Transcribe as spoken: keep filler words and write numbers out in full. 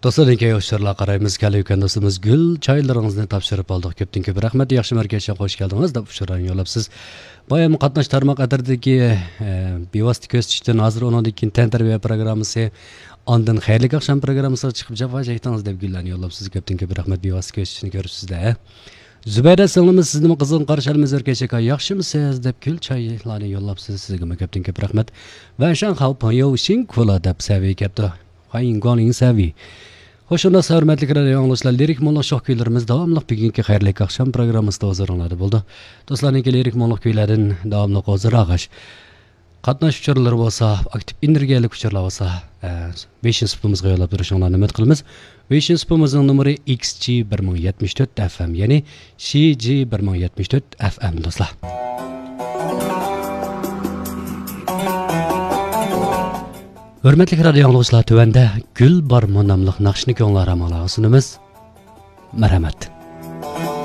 دوستلار، كېيىن ئۇچۇرلارغا قارايمىز. كەلگۈكەن دوستىمىز گۈل چايلىرىڭىزنى تاپشۇرۇپ ئالدۇق. كۆپتىن كۆپ رەھمەت. ياخشى مەركەزگە خوش كەلدىڭىز دەپ ئۇچۇرلارنى يوللاپسىز. بايام قاتناش تارماق ئەترىتىدىكى، ئە، بىۋاسىتە كۆزىتىشتىن، ھازىر ئۇنىڭدىن كېيىن تەنتەربىيە پروگراممىسى، ئاندىن خەيرلىك ئاخشام پروگراممىسىغا چىقىپ جاپا چەكتىڭىز دەپ گۈللەرنى يوللاپسىز. كۆپتىن كۆپ رەھمەت. بىۋاسىتە كۆزىتىشنى كۆرۈپسىز-دە. زۇبەيدە سىڭلىمىز، سىزنىمۇ قىزغىن قارشى ئالىمىز، ئۆركەش ئاكا، ياخشىمۇ سىز دەپ گۈل چايلارنى يوللاپسىز. سىزگىمۇ كۆپتىن كۆپ رەھمەت. ۋەنشاڭ خاۋ پېڭيو شىڭ كۇلا دەپ سەۋىي كەپتۇ. خايىڭ گۇاڭلىڭ سەۋىي. خوش ئورۇندا، ھۆرمەتلىك رادىئو ئاڭلىغۇچىلار، لىرىك مۇڭلۇق شوخ كۈيلىرىمىز داۋاملىق بۈگۈنكى خەيرلىك ئاخشام پروگراممىسىدا ھۇزۇرۇڭلاردا بولىدۇ. دوستلارنىڭكى لىرىك مۇڭلۇق كۈيلەردىن داۋاملىق ھۇزۇر ئالغاچ، قاتناش ئۇچۇرلىرى بولسا، ئاكتىپ ئېنېرگىيەلىك ئۇچۇرلار بولسا، ئە، ۋېيشىن سۇپىمىزغا يوللاپ بېرىشىڭلارنى ئۈمىد قىلىمىز. ۋېيشىن سۇپىمىزنىڭ نومۇرى ئېكس جى بىر مىڭ يەتمىش تۆت ئەف ئەم، يەنى شى جى بىر مىڭ يەتمىش تۆت ئەف ئەم، دوستلار. ھۆرمەتلىك رادىئو ئاڭلىغۇچىلار، تۆۋەندە گۈل بارمۇ ناملىق ناخشىنى كۆڭۈل ئارامىڭلارغا سۇنىمىز. مەرھەمەت.